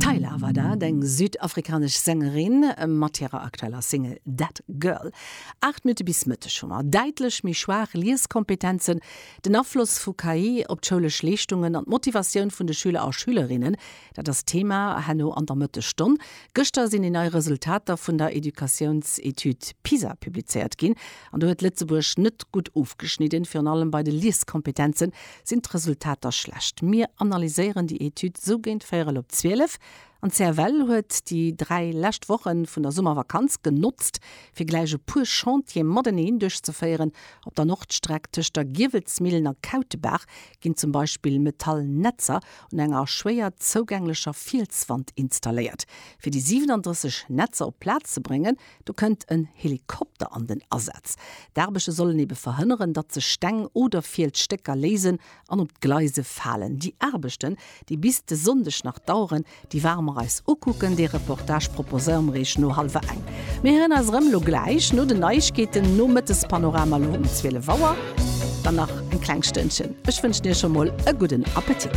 Tyla war dat, eng südafrikanesch Sängerin mat hirer aktueller Single That Girl. 8 Minutte bis Mëtteg hu mer. Däitlech méi schwaach Lieskompetenzen, den Afloss vu KI op d'schoulesch Leeschtungen an d'Motivatioun vun de Schüler a Schülerinnen, dat ass d'Thema herno an der Mëttesstonn. Gëschter sinn déi nei Resultater vun der Educatiounsetüd PISA publizéiert ginn an do huet Lëtzebuerg net gutt ofgeschnidden. Virun allem bei de Lieskompetenze sinn d'Resultater schlecht. Mir analyséieren déi Etüd sou géint véierel op 12. An d'CFL huet déi 3 lescht Woche vun der Summervakanz genotzt, fir gläich e puer Chantiere mateneen duerchzeféieren. Op der Nordstreck tëscht der Giewelsmillen a Kautebaach ginn zum Beispill Metallnetzer un enger schwéier zougänglecher Fielswand installéiert. Fir déi 37 Netzer op d'Plaz ze bréngen, do kënnt en Helikopter an den Asaz. D'Aarbechte sollen ebe verhënneren, datt sech Steng oder Fielsstécker léisen an op d'Gleise falen. Déi Aarbechten, déi bis de Sonndeg nach daueren, déi ware mer eis ukucken. Dee Reportage proposéiere mer iech no hallwer eng. Mir héieren eis erëm elo gläich no den Neiegkeeten, nom Mëttespanorama elo um 12 Auer. Dann nach eng kleng Stënnchen. Ech wënschen iech scho mol e gudden Appetit.